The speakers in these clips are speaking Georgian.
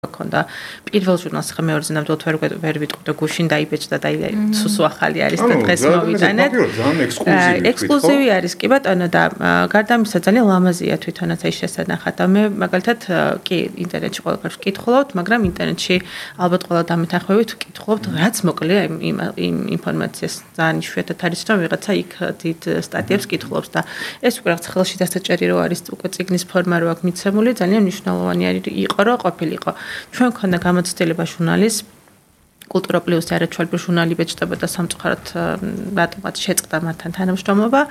ქონდა პირველ ჟურნალს ხა მეორეზე ნამდვილად ვერ ვიტყვი და გუშინ დაიბეჭდა და სუსუ ახალი არის და დღეს მოვიტანეთ. ექსკლუზივი არის კი ბატონო და გარდა ამისა ძალიან ლამაზია თვითონაც ეს შესანახად და მე მაგალითად კი ინტერნეტში ყველაფერს ვკითხულობთ, მაგრამ ინტერნეტში ალბათ ყველა დამეთანხმებით ვკითხულობთ, რაც მოკლეა იმ ინფორმაციას ძალიან იშვიათად არის რომ ვიღაცა იქ დიდ სტატიებს კითხულობს და ეს უკვე რაღაც ხელში დასაჭერი რო არის უკვე წიგნის ფორმა რო აქვს მიცემული, ძალიან მნიშვნელოვანი არის იყო რომ ყოფილიყო. ჩვენ ქონდა გამოცდილება ჟურნალის კულტურა პლუსი არაჩვეულებრივი ჟურნალი ბეჭდებოდა სამწუხაროდ რატომაც შეწყდა მათთან თანამშრომლობა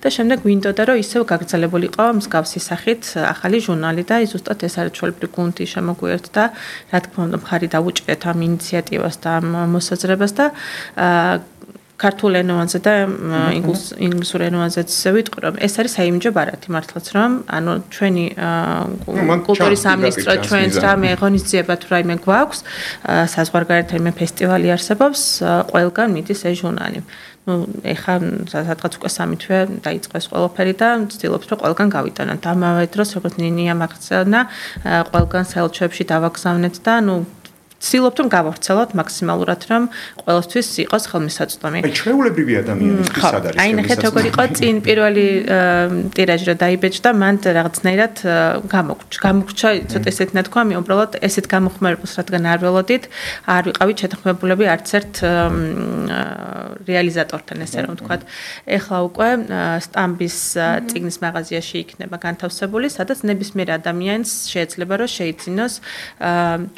და შემდეგ გვინდოდა რომ ისევ გაგრძელებულიყო მსგავსი სახით ახალი ჟურნალი და ზუსტად ეს არაჩვეულებრივი გუნდი შემოგვიერთდა რა თქმა უნდა მხარი დაუჭირეთ ამ ინიციატივას და ამ მოსაზრებას და ქართულ ენოვანზე და ინგლისურ ენოვანზეც ვიტყვი რომ ეს არის საიმიჯო ბარათი მართლაც რომ ანუ ჩვენი კულტურის სამინისტრო ჩვენს რამე ღონისძიება თუ რაიმე გვაქვს საზღვარგარეთ რაიმე ფესტივალი არსებობს ყველგან მიდის ეს ჟურნალი ну ეხა სადღაც უკვე 3 თვე დაიწყო ეს ყველაფერი და ვცდილობთ რომ ყველგან გავიტანოთ ამავე დროს როგორც ნინია მაგცენა ყველგან სელჩებში დავაგზავნეთ და ну ვცდილობთ რომ გავავრცელოთ მაქსიმალურად რომ ყველასთვის იყოს ხელმისაწვდომი. აი ჩვეულებრივი ადამიანისთვის სად არის? აი ნახეთ როგორ იყო წინ პირველი ტირაჟი რა დაიბეჭდა, მან რაღაცნაირად გამოგრჩა, ცოტა ესეთ ნათქვა, მე უბრალოდ ესეთ გამოხმარებას რადგან არ ველოდით, არ ვიყავით შეთანხმებულები არც ერთ რეალიზატორთან ესე რომ ვთქვათ. ეხლა უკვე სტამბის წიგნის მაღაზიაში იქნება განთავსებული, სადაც ნებისმიერ ადამიანს შეიძლება რომ შეიძინოს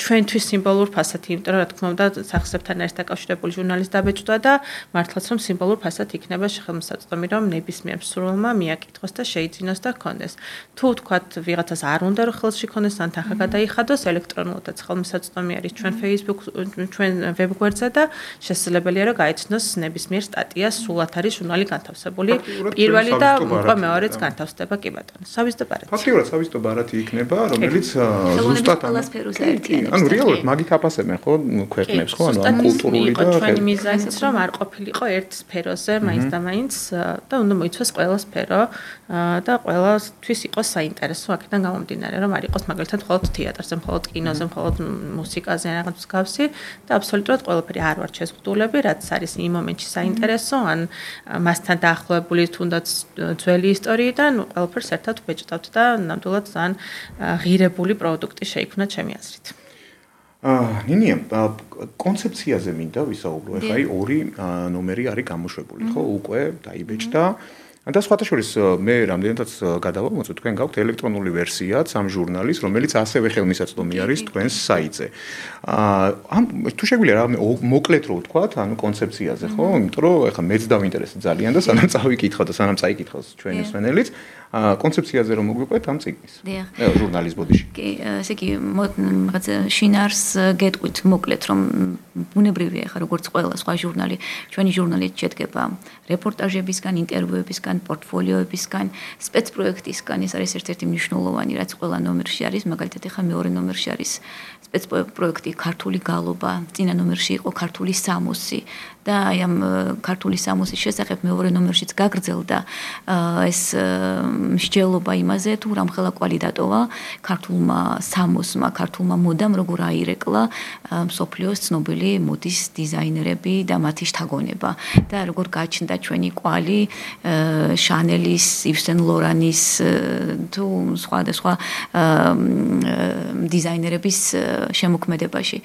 ჩვენთვის სიმბოლურ ფასად, იმიტომ რომ რა თქმა უნდა სახსრებთან არის დაკავშირებული ჟურნალის დაბეჭდვა და მართლაც რომ სიმბოლურ ფასად იქნება ხელმისაწვდომი რომ ნებისმიერ მსურველმა მიაკითხოს და შეიძინოს და ჰქონდეს. თუ თქვათ ვიღაცას არ უნდა რომ ხელში ქონდეს ან თანხა გადაიხადოს ელექტრონულადაც ხელმისაწვდომი არის ჩვენ Facebook ჩვენ ვებგვერდზე და შესაძლებელია რომ გაიცნოს ნებისმიერ სტატიას სულად არის ჟურნალი განთავსებული პირველი და უკვე მეორეც განთავსდება კი ბატონო. სავიზიტო ბარათი. ფაქტიურად სავიზიტო ბარათი იქნება რომელიც ზუსტად ანუ რეალურად მაგით აფასებენ ხო ქვეყნებს ხო ანუ ამ კულტურული და ჩვენი მიზანიც რომ არ ყოფილიყო ერთ სფეროზე მაინც და მაინც და უნდა მოიცვას ყველა სფერო და ყველასთვის იყოს საინტერესო აქედან გამომდინარე რომ არ იყოს მაგალითად მხოლოდ თეატრზე, მხოლოდ კინოზე, მხოლოდ მუსიკაზე რაღაც მსგავსი და აბსოლუტურად ყველაფერი არ ვარ შეზღუდულები, რაც არის იმ მომენტში საინტერესო ან მასთან დაახლოებული თუნდაც ძველი ისტორიიდან ყველაფერს ერთად ვბეჭდავთ და ნამდვილად ძალიან ღირებული პროდუქტი შეიქმნა ჩემი აზრით. ნინია კონცეფციაზე მინდა ვისაუბრო ეხლა აი ორი ნომერი არის გამოშვებული ხო უკვე დაიბეჭდა და სხვათა შორის მე რამდენადაც გადავამოწმე თქვენ გაქვთ ელექტრონული ვერსიაც ამ ჟურნალის რომელიც ასევე ხელმისაწვდომი არის თქვენს საიტზე ამ თუ შეგვიძლია რა მოკლედ რო ვთქვათ ანუ კონცეფციაზე ხო იმიტომ რომ ეხლა მეც დავინტერესდა ძალიან და სანამ წავიკითხავ და სანამ წაიკითხავს ჩვენი მსმენელიც კონცეფციაზე რომ მოგვიყვეთ ამ წიგნის ჟურნალის ბოდიში კი ესე იგი რაღაც შინარს გეტყვით მოკლედ რომ ბუნებრივია ხა როგორც ყველა სხვა ჟურნალი ჩვენი ჟურნალი შედგება რეპორტაჟებისგან ინტერვიუებისგან პორტფოლიოებისგან სპეცპროექტისგან ეს არის ერთ-ერთი მნიშვნელოვანი რაც ყველა ნომერში არის მაგალითად ხა მეორე ნომერში არის სპეცპროექტი ქართული გალობა წინა ნომერში იყო ქართული სამოსი და აი ამ ქართული სამოსის შესახებ მეორე ნომერშიც გაგრძელდა ეს მსჯელობა იმაზე თუ რამხელა კვალი დატოვა ქართულმა სამოსმა ქართულმა მოდამ როგორ აირეკლა მსოფლიოს ცნობილი მოდის დიზაინერები და მათი შთაგონება და როგორ გაჩნდა ჩვენი კვალი შანელის, იվ სენ ლორანის თუ სხვა დიზაინერების შემოქმედებაში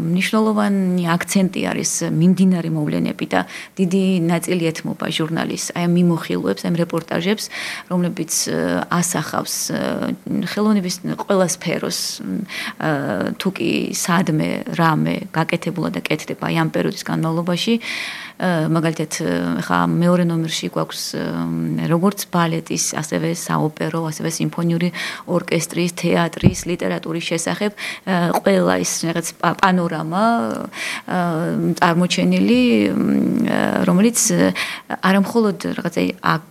მნიშვნელოვანი აქცენტი არის მიმდინარე მოვლენები და დიდი ნაწილი ეთმობა ჟურნალის აი ამ მიმოხილვებს, ამ რეპორტაჟებს, რომლებიც ასახავს ხელოვნების ყველა სფეროს თუ კი სადმე რამე გაკეთებულა და კეთდება აი ამ პერიოდის განმავლობაში მაგალითად ხა მეორე ნომერში გვაქვს როგორც ბალეტის, ასევე საოპერო, ასევე სიმფონიური ორკესტრის, თეატრის, ლიტერატურის შესახებ ყველა ის რაღაც პანორამა წარმოჩენილი, რომელიც არამხოლოდ რაღაცა აქ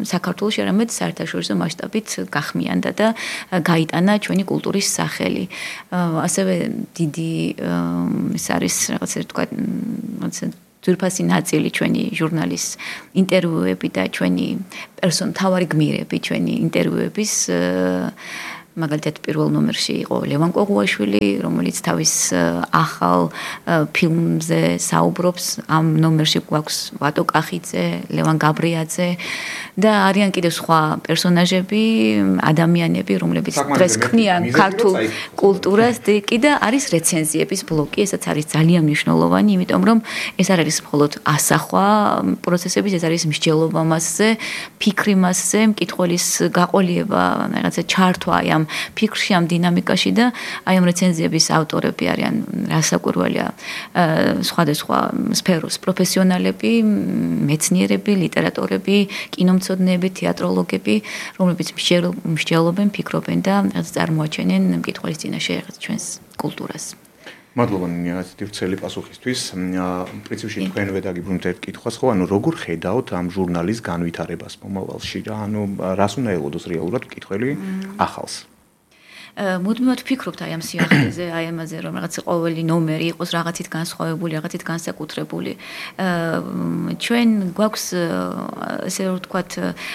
საქართველოში, არამედ საერთაშორისო მასშტაბით გახმიანდა და გაიტანა ჩვენი კულტურის სახელი. ასევე დიდი ეს არის რაღაცა თქვა ძვირფასი ნაწილი ჩვენი ჟურნალის ინტერვიუები და ჩვენი თავარი გმირები ჩვენი ინტერვიუების მაგალითად პირველ ნომერში იყო ლევან კოღუაშვილი, რომელიც თავის ახალ ფილმზე საუბრობს. ამ ნომერში გვაქვს ვატო კახიძე, ლევან გაბრიაძე და არიან კიდევ სხვა პერსონაჟები, ადამიანები, რომლებიც დღეს ქმნიან ქართულ კულტურას და არის რეცენზიების ბლოკი, ესაც არის ძალიან მნიშვნელოვანი, იმიტომ რომ ეს არ არის მხოლოდ ასახვა პროცესების, ეს არის მსჯელობა მასზე, ფიქრი მასზე, მკითხველის გაყოლიება, რაღაცა ჩართვა ამ ფიქრში, ამ დინამიკაში და აი ამ რეცენზიების ავტორები არიან რასაკვირველია სხვადასხვა სფეროს პროფესიონალები, მეცნიერები, ლიტერატორები, კინომცოდნეები, თეატროლოგები, რომლებიც მსჯელობენ, ფიქრობენ და წარმოაჩენენ მკითხველის წინაშე ჩვენს კულტურას. მადლობა ნინიათი ვრცელი პასუხისთვის. პრინციპში თქვენვე დაგიბრუნეთ ერთ კითხვას, ხო, ანუ როგორ ხედავთ ამ ჟურნალის განვითარებას მომავალში რა, ანუ რას უნდა ელოდოს რეალურად მკითხველი ახალს? მუდმივად ვფიქრობთ აი ამ სიახლეზე, აი ამაზე, რომ რაღაც ყოველი ნომერი იყოს რაღაცით განსხვავებული, რაღაცით განსაკუთრებული. ჩვენ გვაქვს ესე ვთქვათ,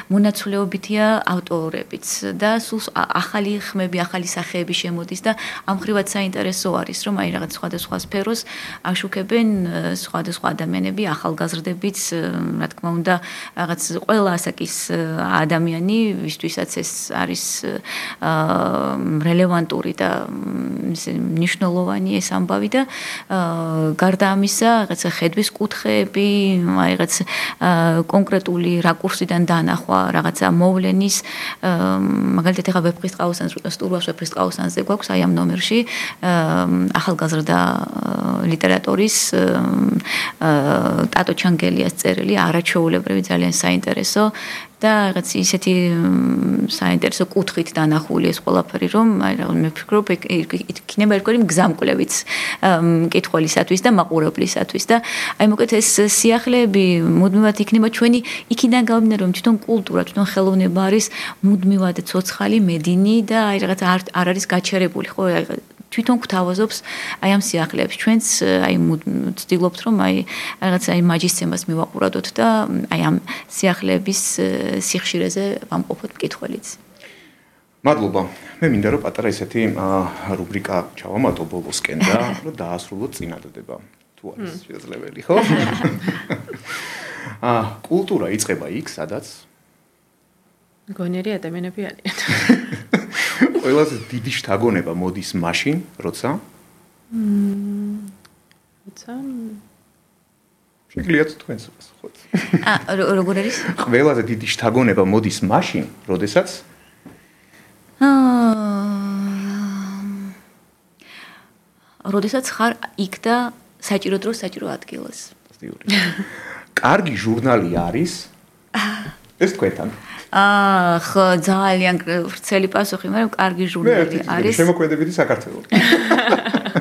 მონაცვლეობითია ავტორებიც და სულ ახალი ხმები, ახალი სახეები შემოდის და ამ ხრივად საინტერესო არის, რომ აი რაღაც სხვადასხვა სფეროს აშუქებენ სხვადასხვა ადამიანები, ახალგაზრდებიც, რა თქმა უნდა, რაღაც ყველა ასაკის ადამიანი, ვისთვისაც ეს არის რელევანტური და მნიშვნელოვანი ეს ამბავი და გარდა ამისა, რაღაცა ხედვის კუთხეები, აი რაღაც კონკრეტული რაკურსიდან დანახვა, რაღაცა მოვლენის, მაგალითად ეხა ვეფხისტყაოსანს, სტურვას ვეფხისტყაოსანზე გვაქვს აი ამ ნომერში ახალგაზრდა ლიტერატორის ტატო ჩანგელიას წერილი, არაჩვეულებრივი, ძალიან საინტერესო და რაღაც ისეთი საინტერესო კუთხით დანახული ეს ყველაფერი, რომ მე ვფიქრობ, იქნება ერთგვარი მგზამკვლევიც მკითხველისათვის და მაყურებლისათვის და აი მოკლედ ეს სიახლეები მუდმივად იქნება ჩვენი იქიდან გამომდინარე, რომ თვითონ კულტურა, თვითონ ხელოვნება არის მუდმივად ცოცხალი, მედინი და აი რაღაც არ არის გაჩერებული, ხო, თვითონ გვთავაზობს აი ამ სიახლეებს. ჩვენც აი ვცდილობთ, რომ აი რაღაც აი მაჯისცემას მივაყურადოთ და აი ამ სიახლეების სიხშირეზე ვამყოფოთ მკითხველიც. მადლობა. მე მინდა რომ პატარა ესეთი რუბრიკა ჩავამატო ბოლოსკენ და რომ დაასრულოთ წინადადება. თუ არის შესაძლებელი, ხო? კულტურა იწყება იქ, სადაც გონიერი ადამიანები არიან. ყველაზე დიდი შთაგონება მოდის მაშინ, როცა? შეგიძლიათ თქვენს პასუხოთ. როგორ არის? ყველაზე დიდი შთაგონება მოდის მაშინ, როდესაც? როდესაც ხარ იქ და საჭირო დროს საჭირო ადგილას. კარგი ჟურნალი არის? ეს თქვენთან. ხო, ძალიან ვრცელი პასუხი, მაგრამ კარგი ჟურნალი არის. შემოქმედებითი საქართველო.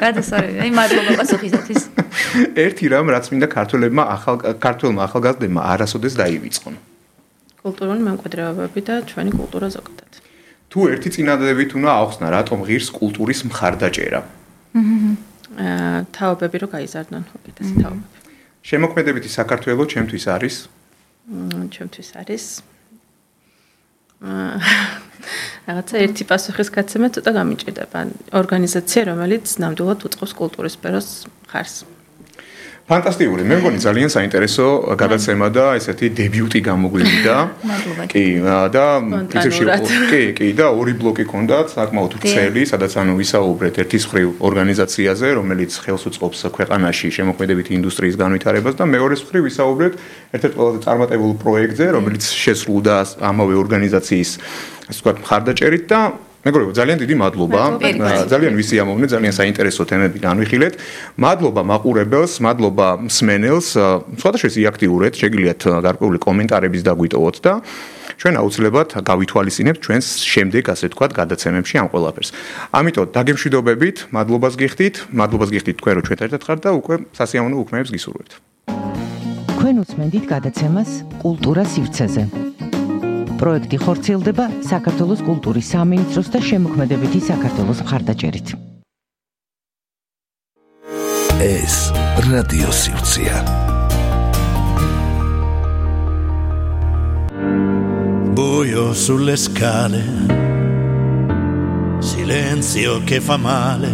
გადასარევი, აი მადლობა პასუხისათვის. ერთი რამ, რაც მინდა ქართველმა ახალგაზრდებმა არასოდეს დაივიწყონ. კულტურული მემკვიდრეობები და ჩვენი კულტურა ზოგადად. თუ ერთი წინადადებით უნდა ახსნა, რატომ ღირს კულტურის მხარდაჭერა? თაობები რო გაიზარდონ, უკეთესი თაობები. შემოქმედებითი საქართველო ჩემთვის არის? ჩემთვის არის რაღაცა ერთი პასუხის გაცემა ცოტა გამიჭირდება. ორგანიზაცია, რომელიც ნამდვილად უწყობს კულტურის სფეროს მხარს. ფანტასტიკური. მე მგონი ძალიან საინტერესო გადაცემა და ესეთი დებიუტი გამოგვივიდა. კი, და პრინციპში კი და ორი ბლოკი ჰქონდათ, საკმაოდ ვრცელი, სადაც ანუ ვისაუბრეთ ერთის მხრივ ორგანიზაციაზე, რომელიც ხელს უწყობს ქვეყანაში შემოქმედებითი ინდუსტრიის განვითარებას და მეორეს მხრივ ვისაუბრეთ ერთ-ერთ ყველაზე წარმატებულ პროექტზე, რომელიც შესრულდა ამავე ორგანიზაციის ასე ვთქვათ მხარდაჭერით და მეგობრებო, ძალიან დიდი მადლობა. ძალიან ვისიამოვნე, ძალიან საინტერესო თემები განვიხილეთ. მადლობა მაყურებელს, მადლობა მსმენელს. სხვადასხვა აქტიურეთ, შეგიძლიათ გარკვეული კომენტარების დაგვიტოვოთ და ჩვენ აუცილებლად გავითვალისწინებთ ჩვენს შემდეგ, ასე ვთქვათ, გადაცემებში ამ ყველაფერს. ამიტომ დაგემშვიდობებით, მადლობას გიხდით, თქვენ რომ ჩვენთან ერთად ხართ და უკვე სასიამოვნო უქმეებს გისურვებთ. თქვენ უსმენთ გადაცემას კულტურა სივრცეზე. პროექტი ხორციელდება საქართველოს კულტურის სამინისტროს და შემოქმედებითი საქართველოს მხარდაჭერით. ეს რადიო სივრცეა. Voglio sulle scale Silenzio che fa male,